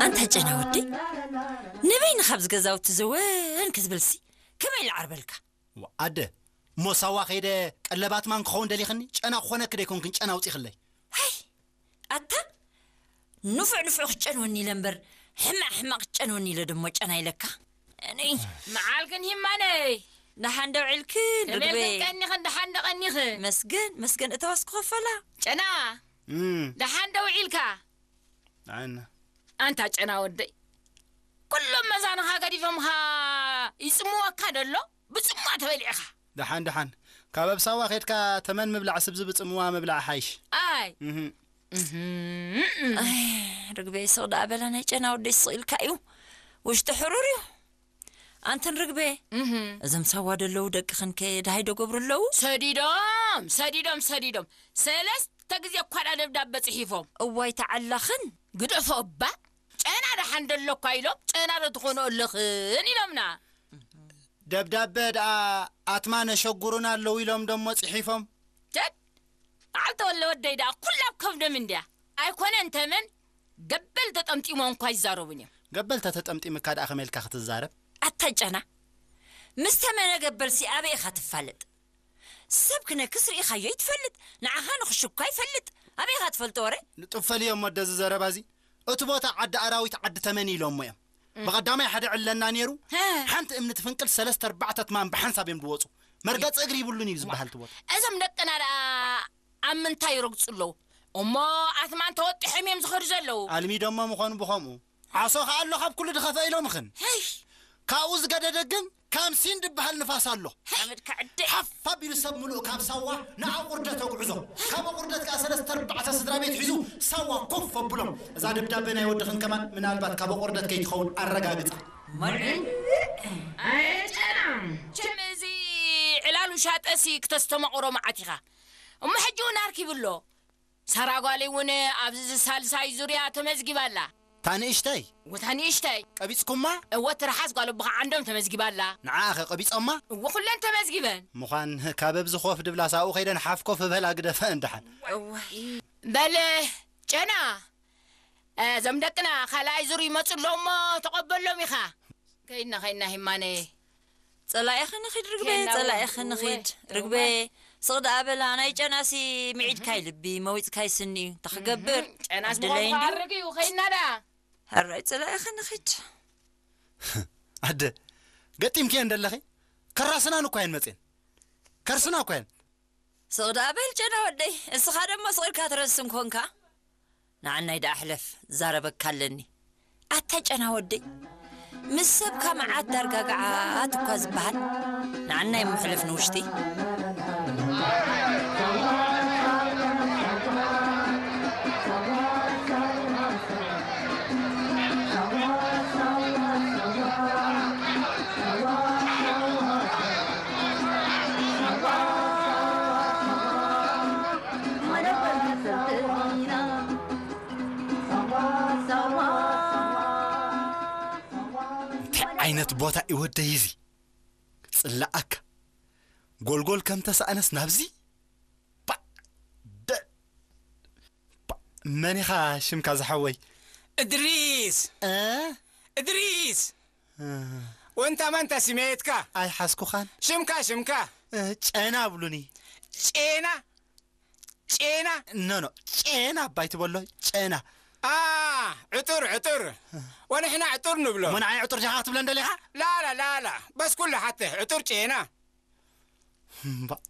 ኣታ ጨና ወደይ፣ ንበይንኻ ኣብዚ ገዛውቲ ዘወን ክትብልሲ ከመይ ኢለ ዓርበልካ? ዋ፣ ኣደ፣ እሞ ሳዋ ከይደ ቀለብ ኣትማን ክኸውን ደሊኽኒ? ጨና ክኾነኪ ደይኮንክን ጨና ኣውጺኽለይ። ሃይ፣ ኣታ ንፉዕ ንፉዕ ክትጨንወኒ ኢለ እምበር፣ ሕማቕ ሕማቕ ክትጨንወኒ ኢለ ደሞ ጨና ኢለካ። እኔ መዓልክን ሂማነይ። ደሓን ዶ ውዒልክን ርግበይ? ተመልክን ቀኒኽን ደሓን ዶ ቀኒኽን? መስገን፣ መስገን እተዋስ ክኸፈላ። ጨና፣ እም። ደሓን ዶ ውዒልካ? ኣነ። ኣንታ ጨና ወደይ፣ ኩሎም መዛንኻ ገዲፎምኻ ይጽምወካ ደሎ፣ ብጽምዋ ተበሊዕኻ። ደሓን፣ ደሓን። ካብ ኣብ ሳዋ ኸድካ ተመን ምብላዕ ስብዚ ብጽምዋ ምብላዕ ሓይሽ። ኣይ። እህ። እህ። ኣይ፣ ርግበይ ስቕ ደኣ በላ፣ ናይ ጨና ወደይ ስቕ ኢልካ እዩ። ውሽጢ ሕሩር እዩ። ኣንተን ርግበ፣ እህ። እዞም ሳዋ ደለዉ ደቅኽን ከ ደሃይ ዶ ገብሩ ኣለዉ? ሰዲዶም፣ ሰዲዶም፣ ሰዲዶም። ሰለስተ ግዜ እኳ ደኣ ደብዳበ ጽሒፎም። እዋይ ተዓላኽን። ግደፎ እባ፣ ጨና ደሓን ደሎ እኳ ኢሎም፣ ጨና ዶ ትኾኑ ኣለኽን ኢሎምና። ደብዳበ ደኣ ኣትማን ኣሸጉሩና ኣለዉ ኢሎም ደሞ ጽሒፎም። ቸድ፣ በዓል ተወለ ወደይ ደኣ ኩላ ኣብ ከብዶም እንድያ። ኣይኮነን ተመን፣ ገበል ተጠምጢሞም እኳ ይዛረቡን እዮም። ገበል ተተጠምጢምካ ደኣ ከመይ ኢልካ ክትዛረብ? ኣታ ጨና፣ ምስ ተመነ ገበልሲ ኣበይ ኢኻ ትፋለጥ? ሰብ ክነክስ ርኢኻዮ ይትፈልጥ፣ ንዓኻ ንኽሽኳ ይፈልጥ። ኣበይ ኢኻ ትፈልጦ ወረ? ንጡፍ ፈልዮም ወደዚ ዘረባዚ። እቲ ቦታ ዓዲ ኣራዊት ዓዲ ተመን ኢሎሞ እዮም። እም። ብቐዳማይ ሓደ ዕለና ነይሩ፣ ሀ። ሓንቲ እምኒ ትፍንቅል ሰለስተ ኣርባዕተ ትማን ብሓንሳብ እዮም ዝወፁ። መርገፂ እግሪ ይብሉን እዩ ዝበሃል እቲ ቦታ። እዞም ደቅና ደኣ ኣብ ምንታይ ይረግፁ ኣለዉ? እሞ ኣትማን ተወጢሖም እዮም ዝኸዱ ዘለዉ። ኣልሚዶሞ ምኾኑ ብኸምኡ። ዓሶ ኸኣ ኣሎ ካብ ኩሉ ድኸፈ ኢሎምኽን። ሄይ! ካብኡ ዝገደደ ግን ካምሲን ድበሃል ንፋስ ኣሎ። ሓመድካ ዕደ። ሓፍ ኣቢሉ ሰብ ምሉእ ካብ ሳዋ ንኣቑርደት ኣጉዕዞ። ካብ ኣቑርደት ከኣ ሰለስተ ኣርባዕተ ስድራ ቤት ሒዙ ሳዋ ኮፍ ኣብሎም። እዛ ደብዳበ ናይ ወድኽን ከማን ምናልባት ካብ ኣቑርደት ከይትኸውን ኣረጋግጻ። መርዒ? ኣየ ጨና። ችም እዚ ዕላሉ ሻጠሲ ክተስተማቑሮ መዓት ኢኻ። እሞ ሕጂ እውን ኣርኪቡ ኣሎ። ሳራ ጓለይ እውን ኣብዚ ሳልሳይ ዙርያ ተመዝጊባ ኣላ። እታ ንእሽተይ? እወ፣ እታ ንእሽተይ። ቀቢጽኩማ? እወ፣ ትርሓስ ጓል ኣቦኻ ዓንዶም ተመዝጊባ ኣላ። ንዓኣ ኸ ቀቢጾማ? እወ፣ ኩለን ተመዝጊበን። ምዃን ካብ ኣብዚ ኮፍ ድብላስ ኣብኡ ከይደን ሓፍ ኮፍ በላ ግደፈ እንድሓን። እወ። በል፣ ጨና፣ እዞም ደቅና ካልኣይ ዙር ይመጹ ኣለዉ እሞ ተቐበሎም ኢኻ። ከይድና፣ ከይድና ሂማነ። ጸላኢኺ ንኺድ ርግበ፣ ከይድና ጸላኢኺ እወ፣ ንኺድ እወ። ርግበ። ስቕ ደኣ በላ፣ ናይ ጨናሲ ምዒድካይ ልቢ፣ መዊጽካይ ስኒ እዩ። እንታይ ክገብር? እህ፣ ጨናስ ዕድለይ ምዃኑ እንድዩ። ክኣርግ እዩ፣ ከይድና ደኣ። ሕራይ ጸላኢኺ ንኺድ። ኣደ፣ ገጢምክየን ደለኺ? ከራስናን እኳ እየን መጽየን። ከርስና እኳ እየን። ስቕ ደኣ በል ጨና ወደይ፣ እስኻ ደሞ ስቕ ኢልካ ትረስን ኮንካ። ንዓናይ ደኣ ሕለፍ፣ ዛረበካ ኣለኒ። ኣታ ጨና ወደይ፣ ምስ ሰብካ መዓት ዳርጋ ገዓት እኳ ዝበሃል፣ ንዓናይ እሞ ሕለፍ ንውሽጢ። እንታይ ዓይነት ቦታ እዩ ወደይ እዚ? ጽላኣካ። ጎልጎል ከም ተሳእነስ ናብዚ? ባ-፣ ደ-፣ ባ-፣ መን ኢኻ ሽምካ ዝሓወይ? እድሪስ! እ? እድሪስ! እ። ወንታ ማንታ ስሜትካ? ኣይሓዝኩኻን። ሽምካ፣ ሽምካ? እ፣ ጨና ብሉኒ። ጨና? ጨና? ኖ፣ ኖ፣ ጨና ኣባይ ትበሎ፣ ጨና። ኣ፣ ዕጡር፣ ዕጡር። ወንሕና ዕጡር ንብሎ። እሞ ንዓይ ዕጡር ዲኻ ክትብለን ደሊኻ? ላላ፣ ላላ፣ በስ ኩሉ ሓትህ፣ ዕጡር ጨና። እምባእ፣